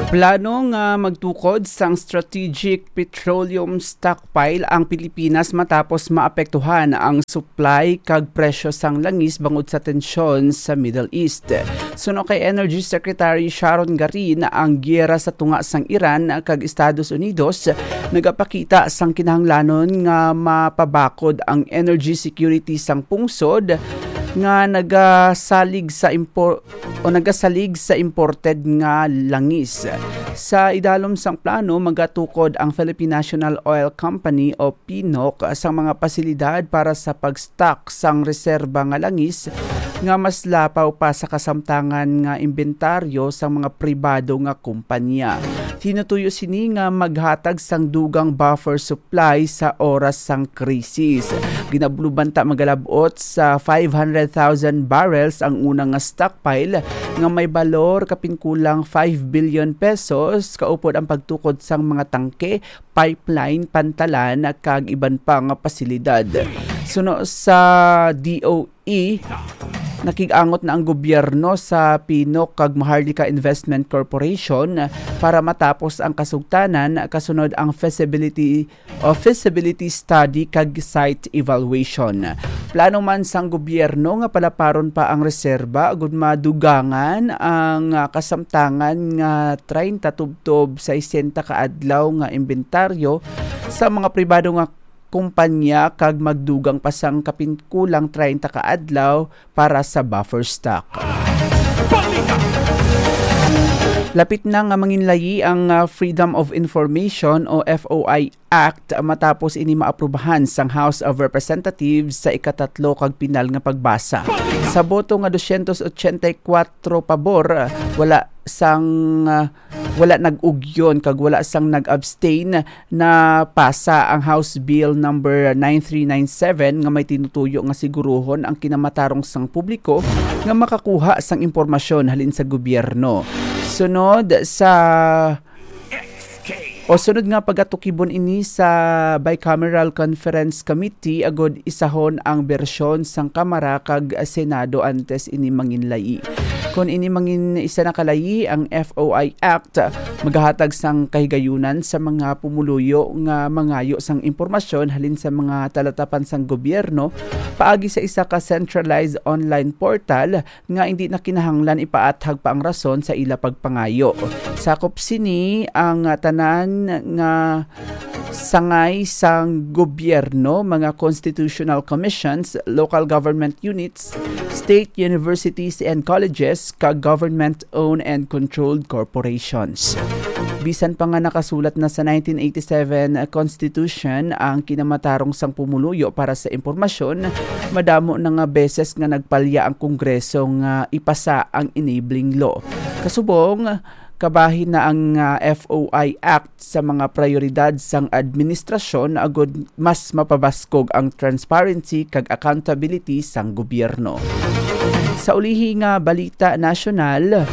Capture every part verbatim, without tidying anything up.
Plano nga magtukod sang strategic petroleum stockpile ang Pilipinas matapos maapektuhan ang supply kag presyo sang langis bangod sa tensyon sa Middle East. Suno kay Energy Secretary Sharon Garin, ang giyera sa tunga sang Iran kag Estados Unidos nagapakita sang kinahanglanon nga mapabakod ang energy security sang pungsod nga nagasalig sa impor-, o nagasalig sa imported nga langis. Sa idalom sang plano, magatukod ang Philippine National Oil Company o PNOC sang mga pasilidad para sa pag-stock sang reserba nga langis nga mas lapaw pa sa kasamtangan nga imbentaryo sang mga pribado nga kumpanya. Tinutuyo sini nga maghatag sang dugang buffer supply sa oras sang krisis. Ginabluban ta magalab-ot sa five hundred thousand barrels ang una nga stockpile nga may balor kapin kulang five billion pesos, kaupod ang pagtukod sang mga tangke, pipeline, pantalan, kag iban pa nga pasilidad. Suno sa D O E, nakig-angot na ang gobyerno sa PNOC kag Maharlika Investment Corporation para matapos ang kasugtanan kasunod ang feasibility o feasibility study kag site evaluation. Plano man sang gobyerno nga palaparon pa ang reserba agud madugangan ang, ah, kasamtangan nga treinta tubtob sesenta ka adlaw nga imbentaryo sa mga pribado nga kumpanya kag magdugang pa sang kapin kulang treinta ka adlaw para sa buffer stock. Lapit na nga manginlayi ang, ah, Freedom of Information o F O I Act matapos ini maaprubahan sang House of Representatives sa ikatatlo kag pinal nga pagbasa. Sa boto nga dosyentos otsenta y kuwatro pabor, wala sang, ah, wala nag-ugyon kag wala sang nag-abstain, napasa ang House Bill number nine three nine seven nga may tinutuyo nga siguruhon ang kinamatarong sang publiko nga makakuha sang impormasyon halin sa gobyerno. Sunod sa, o sunod nga pagatukibon ini sa Bicameral Conference Committee agud isahon ang bersyon sang Kamara kag Senado antes ini manginlayi. Kon ini mangin isa na kalayi ang F O I Act, magahatag sang kahigayunan sa mga pumuluyo nga mangayo sang impormasyon halin sa mga talatapan sang gobyerno paagi sa isa ka centralized online portal nga indi na kinahanglan ipaathag pa ang rason sa ila pagpangayo. Sakop sini ang tanan nga sangay sang gobyerno, mga constitutional commissions, local government units, state universities and colleges, kag government-owned and controlled corporations. Bisan pa nga nakasulat na sa nineteen eighty-seven Constitution ang kinamatarong sang pumuluyo para sa impormasyon, madamo na nga beses nga nagpalya ang Kongreso nga ipasa ang enabling law. Kasubong, kabahin na ang, ah, F O I Act sa mga prayoridad sang administrasyon agud mas mapabaskog ang transparency kag accountability sang gobyerno. Sa ulihi nga balita nasyonal,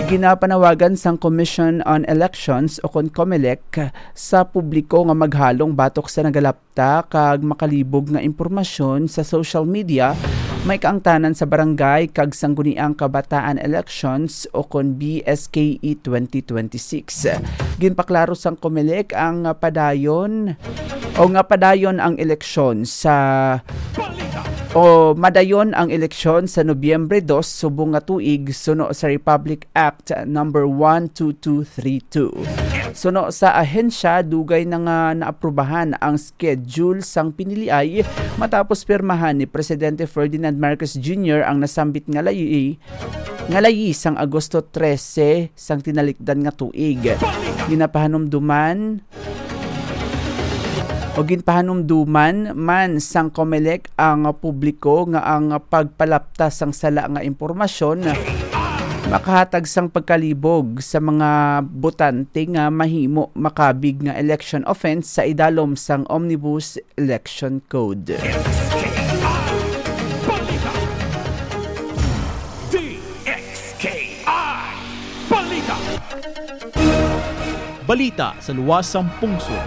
ginapanawagan sang Commission on Elections o kon COMELEC sa publiko nga maghalong batok sa nagalap ta kag makalibog nga impormasyon sa social media, may kaangtanan sa barangay kag sangguniang kabataan elections o kon B S K E twenty twenty-six. Ginpaklaro sang COMELEC ang padayon o nga padayon ang eleksyon sa o madayon ang eleksyon sa Nobyembre dos subong nga tuig suno sa Republic Act number one two two three two. Suno sa ahensya, dugay na nga naaprubahan ang schedule sang piniliay matapos pirmahan ni Presidente Ferdinand Marcos Junior ang nasambit nga layi, nga layi sang Agosto trese sang tinalikdan nga tuig. Ginapahanumduman o ginpahanumduman man sang COMELEC ang publiko nga ang pagpalapta sang sala nga impormasyon makahatag sang pagkalibog sa mga botante nga mahimo makabig nga election offense sa idalom sang Omnibus Election Code. D X K I Balita. Balita sa luwas sang pungsod.